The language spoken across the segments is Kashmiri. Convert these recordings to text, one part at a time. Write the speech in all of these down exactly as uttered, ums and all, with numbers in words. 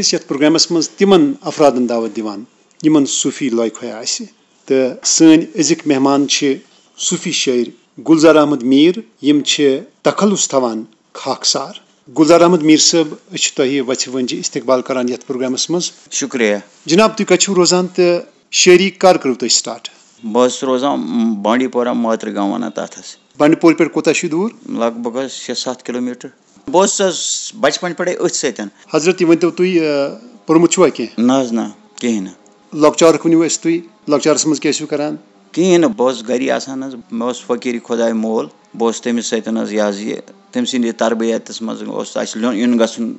أسۍ یَتھ پروگرامَس منٛز تِمَن افرادَن دعوت دِوان، یِمَن صوٗفی لایق ہیا آسہِ۔ تہٕ سٲنۍ أزِکۍ مہمان چھِ صوٗفی شٲعر گُلزار احمد میٖر، یِم چھِ تخلص تھاوان خاکسار۔ گُلزار احمد میٖر صٲب، أسۍ چھِ تۄہہِ وَژھِ وٲنٛجہِ استقبال کران یَتھ پروگرامَس منٛز۔ شُکریہ۔ جناب، تُہۍ کَتہِ چھِو روزان تہٕ شٲعری کر کٔرٕو تۄہہِ start؟ بہٕ حظ چھُس روزان، م، بانڈی پورہ، مٲترِ گام وَنان تَتھ حظ۔ بانڈی پورہ پٮ۪ٹھ کوٗتاہ چھُ یہِ دوٗر؟ لگ بگ حظ شےٚ ستھ کِلوٗ میٖٹر۔ بہٕ اوسُس حظ بَچپَن پٮ۪ٹھَے أتھۍ سۭتۍ۔ حضرت، یہِ ؤنۍتو تُہۍ، آ، پوٚرمُت چھُوا کینٛہہ؟ نہ حظ، نہ، کِہیٖنۍ نہٕ۔ لۄکچارُک ؤنِو اَسہِ تُہۍ، لۄکچارَس منٛز کیٛاہ ٲسِو کران؟ کِہیٖنۍ نہٕ، بہٕ اوسُس گَری آسان حظ، مےٚ اوس فقیٖری خۄداے مول، بہٕ اوسُس تٔمِس سۭتۍ حظ، یہِ حظ یہِ، تٔمۍ سٕنٛدِ تربیتَس منٛز اوس اَسہِ لیوٚن یُن گژھُن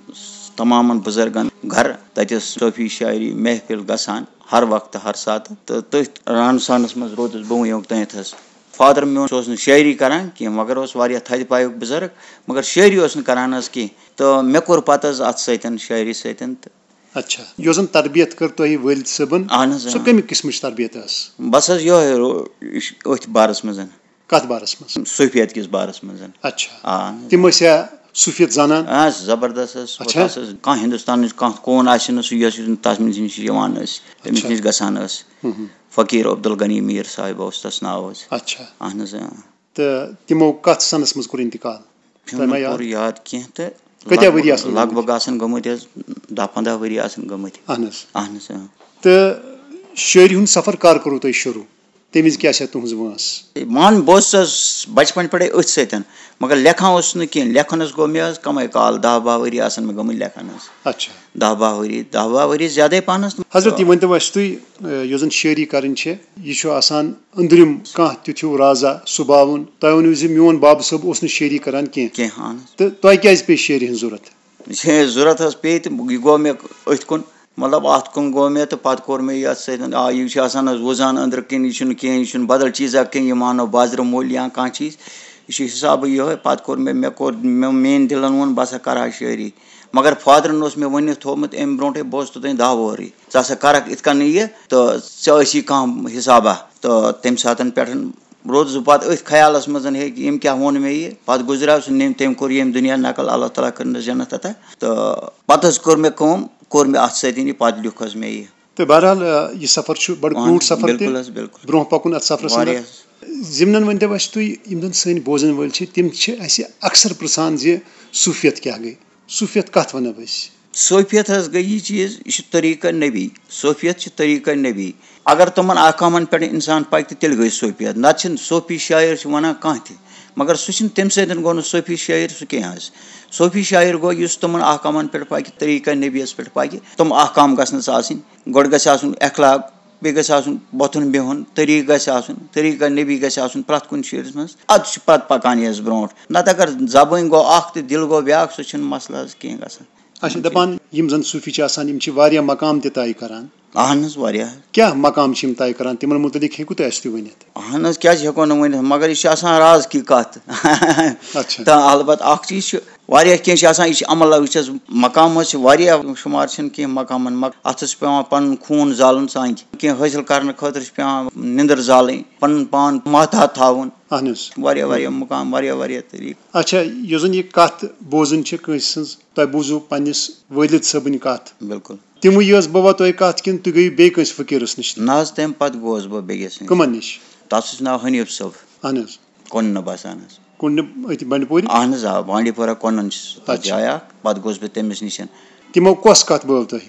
تمامَن بُزرگَن گَرٕ، تَتہِ ٲس صوفی شاعری محفل گژھان ہر وقتہٕ، ہر ساتہٕ، تہٕ تٔتھۍ رہن سہنَس منٛز روٗدُس بہٕ وٕنیُک تانٮ۪تھ حظ۔ فادر میون، سُہ اوس نہٕ شٲعری کران کینٛہہ، مگر اوس واریاہ تھدِ پایُک بُزرگ، مگر شٲعری اوس نہٕ کران حظ کینٛہہ۔ تہٕ مےٚ کوٚر پتہٕ حظ اتھ سۭتۍ، شٲعری سۭتۍ تہٕ۔ اچھا، یۄس زن تربیت کٔر تۄہہِ والد صٲبن، اہن حظ، سۄ اۭں۔ کمہِ قٕسمٕچ تربیت ٲس؟ بس حظ یۄہے رو-، یہِ چھُ أتھۍ بارس منٛز، کتھ بارس منٛز؟ صوفیت کِس بارس منٛز۔ اچھا، آ، اہن حظ۔ تِم ٲسیا صوفیت زانان؟ آ، زبردست حظ۔ اچھا۔ تَس حظ کانٛہہ ہندوستانٕچ کانٛہہ کوٗن آسہِ نہٕ، سُہ یۄس یُس تَس نِش یِوان ٲسۍ، تٔمِس اچھا۔ نِش گژھان ٲسۍ۔ ہُم ہُم۔ فقیٖر عبدالغنی میٖر صاحب اوس تَس ناو حظ۔ اچھا۔ اہن حظ، اۭں۔ تہٕ تِمو کَتھ سَنَس منٛز کوٚر اِنتِقال؟ چھُم تۄہہِ ما نہٕ یاد؟ پوٗرٕ یاد کینٛہہ تہٕ اچھا۔ کۭتیٛاہ لگ ؤری بگ، آسَن لگ گٔمٕتۍ؟ بگ آسَن گٔمٕتۍ حظ دَہ پنٛداہ ؤری آسَن گٔمٕتۍ۔ اہن حظ۔ اہن حظ، اۭں۔ تہٕ شٲعری ہُنٛد سفر کر کوٚروٕ تۄہہِ شروٗع؟ تَمہِ وِزِ کیٛاہ چھےٚ تُہٕنٛز وٲنٛس؟ مان، بہٕ اوسُس بَچپَن پٮ۪ٹھَے أتھۍ سۭتۍ، مگر لیکھان اوسُس نہٕ کینٛہہ۔ لیکھنَس گوٚو مےٚ حظ کَمٕے کال، دَہ باہ ؤری آسَن مےٚ گٔمٕتۍ لیکھان حظ۔ اچھا۔ دَہ باہ ؤری، دَہ باہ ؤری زیادَے پَہنَس۔ حضرت، یہِ ؤنۍ تو اَسہِ تُہۍ، یۄس زن شٲعری کرٕنۍ چھِ، یہِ چھُ آسان أنٛدرِم کانٛہہ تیُتھ ہیوٗ رازا سُباوُن۔ تۄہہِ ؤنِو زِ میون بابہٕ صٲب اوس نہٕ شٲعری کران کینٛہہ۔ کینٛہہ، اہن حظ۔ تہٕ تۄہہِ کیٛازِ پیٚیہِ شٲعری ہٕنٛز ضروٗرت؟ یہِ ضروٗرت حظ پیٚیہِ تہٕ یہِ گوٚو مےٚ أتھۍ کُن، مطلب، اَتھ کُن گوٚو مےٚ تہٕ پَتہٕ کوٚر مےٚ یَتھ سۭتۍ، آ، یہِ چھُ آسان حظ وُزان أنٛدرٕ کِنۍ، یہِ چھُنہٕ کینٛہہ، یہِ چھُنہٕ بدل چیٖزا کینٛہہ، یہِ مانو بازرٕ مٔلۍ یا کانٛہہ چیٖز، یہِ چھُ حِسابٕے یِہوٚے۔ پَتہٕ کوٚر مےٚ، مےٚ کوٚر، مےٚ، میٛٲنۍ دِلَن ووٚن، بہٕ ہسا کَرٕ ہا شٲعری۔ مگر فادرن اوس مےٚ ؤنِتھ تھوٚومُت اَمہِ برونٛٹھٕے، بہٕ اوسُس توٚتام دَہ وُہرٕے، ژٕ ہسا کَرَکھ یِتھ کَنہٕ یہِ تہٕ ژےٚ ٲسی کانٛہہ حِسابہ۔ تہٕ تَمہِ ساتَن پٮ۪ٹھ روٗدُس بہٕ پَتہٕ أتھۍ خیالَس منٛز، ہے، ییٚمۍ کیٛاہ ووٚن مےٚ یہِ؟ پَتہٕ گُزریو سُہ، نِم، تٔمۍ کوٚر ییٚمہِ دُنیا نقل، اللہ تعالیٰ کٔرنَس جنت عطا۔ تہٕ پَتہٕ حظ کٔر مےٚ کٲم، کوٚر مےٚ اَتھ سۭتۍ یہِ، پَتہٕ لیوٚکھ حظ مےٚ یہِ۔ تہٕ بہرحال، آ، یہِ سفر چھُ بڑٕ اہن، کروٗٹھ سفر تہِ۔ بِلکُل حظ، بِلکُل۔ برونٛہہ پکُن اتھ سفرس اندر۔ واریاہ۔ ضمنن ؤنۍ تو اسہِ تُہۍ، یِم زن سٲنۍ بوزن وٲلۍ چھِ، تِم چھِ اسہِ اکثر پرژھان زِ صوفیت کیٛاہ گٔے؟ صوفیت کتھ ونو أسۍ؟ صوفیت حظ گٔے یہِ چیٖز، یہِ چھُ طریٖقہ نبی۔ صوفیت چھُ طریٖقہ نبی۔ اگر تِمن احکامن پٮ۪ٹھ انسان پکہِ، تہٕ تیٚلہِ گٔے صوفیت۔ نتہٕ چھِنہٕ صوفی شاعر چھِ ونان کانٛہہ تہِ، مگر سُہ چھُنہٕ، تمہِ سۭتۍ گوٚو نہٕ صوفی شاعر سُہ کینٛہہ حظ۔ صوفی شاعر گوٚو یُس تِمن احکامن پٮ۪ٹھ پکہِ، طریٖقہ نبیَس پٮ۪ٹھ پکہِ۔ تِم احکام گژھنس آسٕنۍ۔ گۄڈٕ گژھِ آسُن اخلاق، بیٚیہِ گژھِ آسُن وۄتھُن بِہُن، طریٖقہٕ گژھِ آسُن، طریٖقہ نبی گژھِ آسُن پرٛٮ۪تھ کُنہِ چیٖزَس منٛز۔ اَدٕ چھُ پَتہٕ پَکان یہِ حظ برونٛٹھ۔ نَتہٕ اگر زبٲنۍ گوٚو اَکھ تہٕ دِل گوٚو بیٛاکھ، سُہ چھُنہٕ مسلہٕ حظ کینٛہہ گژھان۔ اچھا، دَپان یِم زَن صوٗفی چھِ آسان، یِم چھِ واریاہ مقام تہِ طے کران۔ اہن حظ، واریاہ۔ کیٛاہ مقام چھِ یِم طے کران؟ تِمَن مُتعلِق ہیٚکِو تُہۍ اَسہِ تہِ ؤنِتھ؟ اہن حظ، کیٛازِ ہٮ۪کو نہٕ ؤنِتھ؟ مگر یہِ چھِ آسان راز کی کَتھ۔ اچھا۔ تہٕ البتہ اَکھ چیٖز چھُ، واریاہ کینٛہہ چھِ آسان، یہِ چھِ عمل، وٕچھ حظ، مقام حظ چھِ واریاہ، شُمار چھِنہٕ کینٛہہ مقامَن، مگر اَتھ حظ چھِ پٮ۪وان پَنُن خوٗن زالُن سانہِ کینٛہہ حٲصِل کَرنہٕ خٲطرٕ چھِ پٮ۪وان نِندٕر زالٕنۍ، پَنُن پان محتاط تھاوُن۔ اہن حظ۔ واریاہ، واریاہ مقام، واریاہ، واریاہ طریٖقہٕ۔ اچھا، یۄس زَن یہِ کَتھ بوزٕنۍ چھِ کٲنٛسہِ سٕنٛز، تۄہہِ بوٗزوٕ پنٛنِس وٲلِد صٲبٕنۍ کَتھ۔ بِلکُل۔ تِموٕے یٲژ بہٕ وَتوے کَتھ کِنہٕ تُہۍ گٔیِو بیٚیہِ کٲنٛسہِ فقیٖرَس نِش؟ نہ حظ، تَمہِ پَتہٕ گوس بہٕ بیٚیِس نِش۔ کٕمَن نِش؟ تَتھ چھُس ناو حنیٖف صٲب۔ اہن حظ۔ کۄننہٕ بسان حظ۔ کُنہِ أتھۍ بنڈپوٗرِ؟ اہن حظ، آ، بانڈی پورہ کۄنن چھِ تَتھ اچھا۔ جاے اکھ، پتہٕ گوس بہٕ تٔمِس نِش۔ تِمو کۄس کتھ بٲو تۄہہِ؟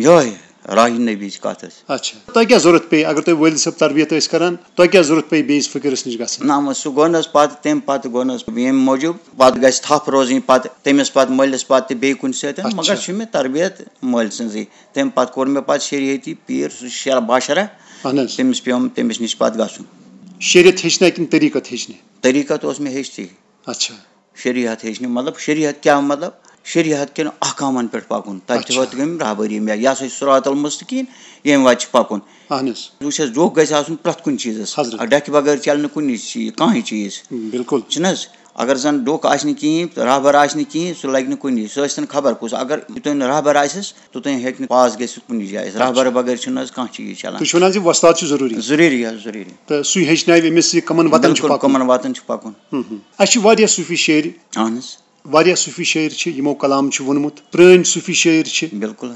یِہوٚے راہی نبی چہِ کتھ حظ۔ اچھا، تۄہہِ کیٛاہ ضروٗرت پیٚیہِ اگر تۄہہِ وٲلِد صٲب تربیت ٲسۍ کران، تۄہہِ کیٛاہ ضروٗرت پیٚیہِ بیٚیِس فقیٖرس نِش گژھنَس؟ نہ، وۄنۍ سُہ گوٚو نہٕ حظ پتہٕ، تَمہِ پتہٕ گوٚو نہٕ حظ ییٚمہِ موٗجوٗب، پتہٕ گژھِ تھپھ روزٕنۍ پتہٕ تٔمِس پتہٕ مٲلِس پتہٕ تہِ بیٚیہِ کُنہِ سۭتۍ، اچھا۔ مگر چھُ مےٚ تربیت مٲلۍ سٕنٛزٕے۔ تَمہِ پتہٕ کوٚر مےٚ پتہٕ شریعتی پیٖر، سُہ چھُ شرح باشرح، اہن حظ۔ تٔمِس پیوٚم تٔمِس نِش پتہٕ گژھُن۔ شریعت ہیٚچھنہ کِنہٕ طریٖقت ہیٚچھنہِ؟ طریٖقت اوس مےٚ ہیٚچھتھٕے۔ اچھا۔ شریعت ہیٚچھنہِ، مطلب، شریعت کیٛاہ؟ مطلب، شریعت کٮ۪ن احکامن پٮ۪ٹھ پکُن۔ تتہِ چھِ اچھا۔ ہوت یِم راہبری مےٚ، یہِ ہسا چھُ صراط المستقیٖم، ییٚمہِ وتہِ چھُ پکُن۔ اہن حظ۔ وٕچھ حظ، ڈوٚکھ گژھِ آسُن پرٛٮ۪تھ کُنہِ چیٖزس۔ حضرت۔ ڈکھِ بغٲر چلہِ نہٕ کُنہِ چیٖز، کانٛہہ چیٖز۔ بِلکُل۔ چھُنہٕ حظ؟ اگر زن ڈوٚکھ آسہِ نہٕ کِہیٖنۍ، راہبر آسہِ نہٕ کِہیٖنۍ، سُہ لگہِ نہٕ کُنہِ۔ سُہ ٲسۍ تن خبر کُس، اگر یُتُے نہٕ راہبر آسٮ۪س، توٚتام ہیٚکہِ نہٕ پاس گٔژھِتھ کُنہِ جایہِ۔ راہبر بغٲر چھُنہٕ حظ کانٛہہ چیٖز چلان۔ تُہۍ چھِو ونان زِ وۄستاد چھُ ضروٗری؟ ضروٗری حظ، ضروٗری۔ تہٕ سُے ہیٚچھناوِ أمِس یہِ کَمن وَتَن چھُ بِلکُل، پَکُن۔ کَمن وَتَن چھُ پَکُن۔ ہُم، ہُم۔ اَسہِ چھِ واریاہ صوٗفی شٲعر۔ اَہن حظ۔ واریاہ صوٗفی شٲعر چھِ، یِمو کلام چھُ ووٚنمُت، پرٛٲنۍ صوٗفی شٲعر چھِ۔ بِلکُل۔